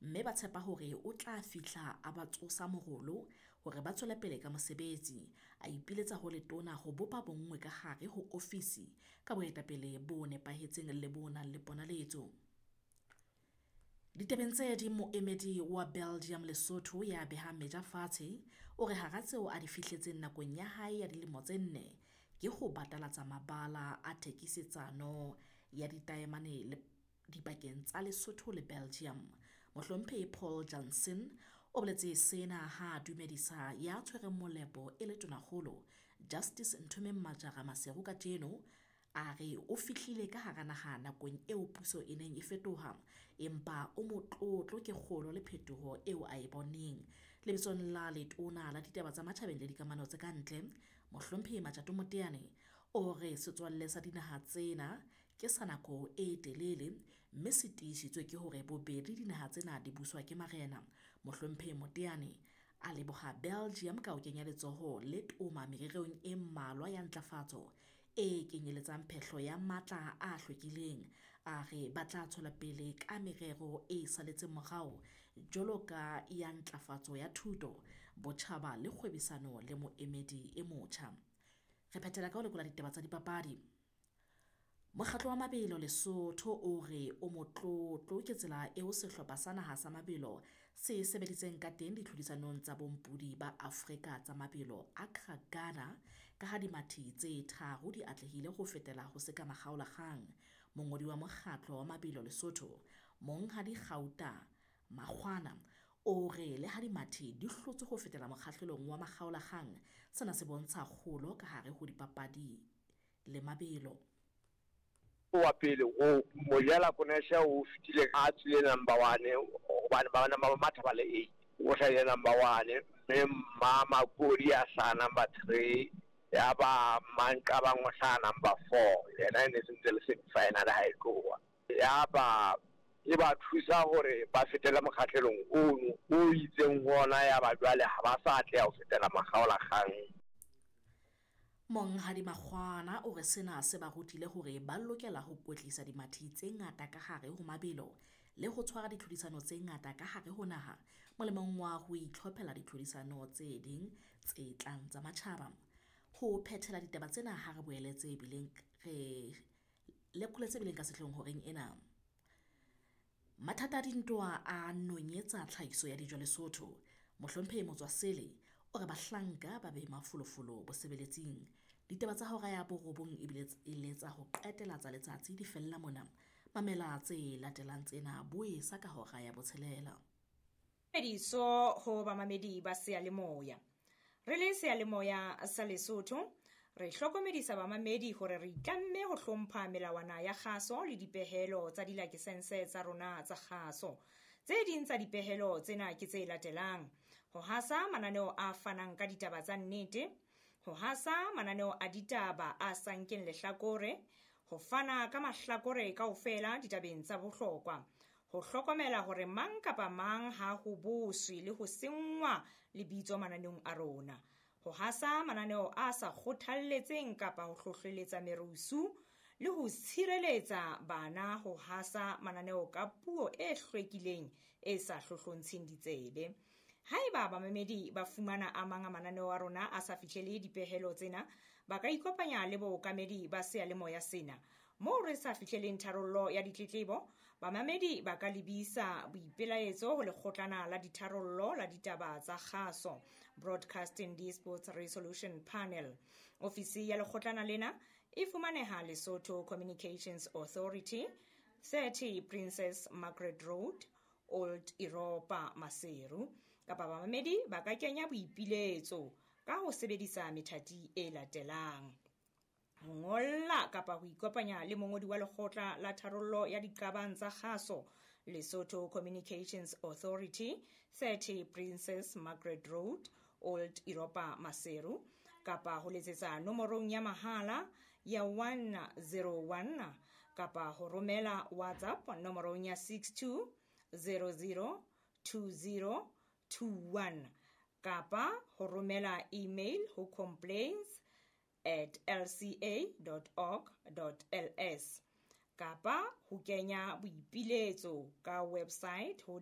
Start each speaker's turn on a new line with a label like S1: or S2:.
S1: mme ba tshepa hore o tla fihla a ba tsosa morolo hore ba tswele pele ka mosebetsi. A ipiletsa ho letona ho bopa bonngwe ka hare ho ofisi ka boetapele bo nepahetseng le bo nang le ponaletso. Ditabeng tse ding, moemedi wa Belgium Lesotho ya behang meja fatshe o re hara tseo a di fihletseng nakong ya hae ya dilemo tse nne ke ho batalatsa mabala a thekisetsano ya ditaemane le dipakeng tsa Lesotho le Belgium. Mohlomphehi Paul Jansen o boletse sena ha a dumedisa ya tshwereng molepo e le Tonakgolo Justice Nthomeng Majara Maseru kajeno. A re o fihlile ka hara naha nakong eo puso e neng e fetoha, empa o motlotlo ke kgolo le phetoho eo a e boneng. Lebitsong la letona la ditaba tsa matjhabeng le dikamano tse ka ntle, Mohlomphehi Matjato Moteane o re setswalle sa dinaha tsena ke sa nako e telele mme se tiisitswe ke hore bobedi dinaha tsena di buswa ke marena. Mohlomphehi Moteane a leboha Belgium ka ho kenya letsoho le toma mererong e mmalwa ya ntlafatso e kenyeletsang phehlo ya matla a hlwekileng. A re ba tla tswela pele ka merero e saletseng morao jwalo ka ya ntlafatso ya thuto, botjhaba le kgwebisano le moemedi e motjha. Re phethela ka ho lekola ditaba tsa dipapadi. Mokgatlo wa mabelo Lesotho o re o motlotlo ke tsela eo sehlopha sa naha sa mabelo se sebeditseng ka teng ditlhodisanong tsa bompudi ba Afrika tsa mabelo Accra, Ghana, ka ha dimathi tse tharo di atlehile ho fetela ho se ka makgaolakgang. Mongodi wa mokgatlo wa mabelo Lesotho, Monghadi Gauta Makgwana, o re le ha dimathi di hlotswe ho fetela mokgahlelong wa makgaolakgang, sena se bontsha kgolo ka hare ho dipapadi le mabelo.
S2: Wa pele o Mojela Konesha o fetile a tswile number 1 hobane ba bana ba matha ba le 8, o hlahile number 1, mme Mma Makodi a hlaha number 3, ya ba Manqabang o hlaha number 4, yena e ne sentse le semi final ha e tloha. Ya ba e ba thusa hore ba fetele mokgahlelong ono o itseng ho ona, ya ba jwale ha ba sa atleha ho fetela makgaolakgang.
S1: Monghadi Makgwana o re sena se ba rutile hore ba lokela ho kwetlisa dimathi tse ngata ka hare ho mabelo le ho tshwara ditlhodisano tse ngata ka hare ho naha molemong wa ho itlhophela ditlhodisano tse ding tse tlang tsa matjhaba. Ho phethela ditaba tsena ha re boele tse bileng re lekole tse bileng ka sehloohong horeng ena. Mathata a dintwa a nonyetsa tlhahiso ya dijo Lesotho. Mohlomphehi Motswasele o re bahlanka ba be mafolofolo bosebeletsing. Ditaba tsa hora ya 9 ebile e le tsa ho qetela tsa letsatsi di fella mona. Mamela tse latelang tsena boesa ka hora ya 6.
S3: Mediso ho bamamedi ba seyalemoya. Re le seyalemoya sa Lesotho, re hlokomedisa bamamedi hore re itlamme ho hlompha melawana ya kgaso le dipehelo tsa dilakesense tsa rona tsa kgaso. Tse ding tsa dipehelo tsena ke tse latelang: ho hasa mananeo a fanang ka ditaba tsa nnete, ho hasa mananeo a ditaba a sa nkeng lehlakore, ho fana ka mahlakore kaofela ditabeng tsa bohlokwa, ho hlokomela hore mang kapa mang ha ho boswe le ho senngwa lebitso mananeong a rona, ho hasa mananeo a sa kgothalletseng kapa ho hlohleletsa merusu, le ho tshireletsa bana ho hasa mananeo ka puo e hlwekileng e sa hlohlontsheng ditsebe. Haeba bamamedi ba fumana a mang a mananeo a rona a sa fihlele dipehelo tsena, ba ka ikopanya le bookamedi ba seyalemoya sena. Moo re sa fihleleng tharollo ya ditletlebo, bamamedi ba ka lebisa boipelaetso ho lekgotlana la ditharollo la ditaba tsa kgaso, Broadcasting Disputes Resolution Panel. Ofisi ya lekgotlana lena e fumaneha Lesotho Communications Authority, 30 Princess Margaret Road, Old Europa, Maseru. Kapa bamamedi ba ka kenya boipiletso ka ho sebedisa methati e latelang: ho ngolla kapa ho ikopanya le mongodi wa lekgotla la tharollo ya diqabang tsa kgaso, Lesotho Communications Authority, 30 Princess Margaret Road, Old Europa, Maseru, kapa ho letsetsa nomorong ya mahala ya 101, kapa ho romela WhatsApp nomorong ya 62 00 20 21, kapa ho romela email ho complaints@lca.org.ls, kapa ho kenya boipiletso ka website ho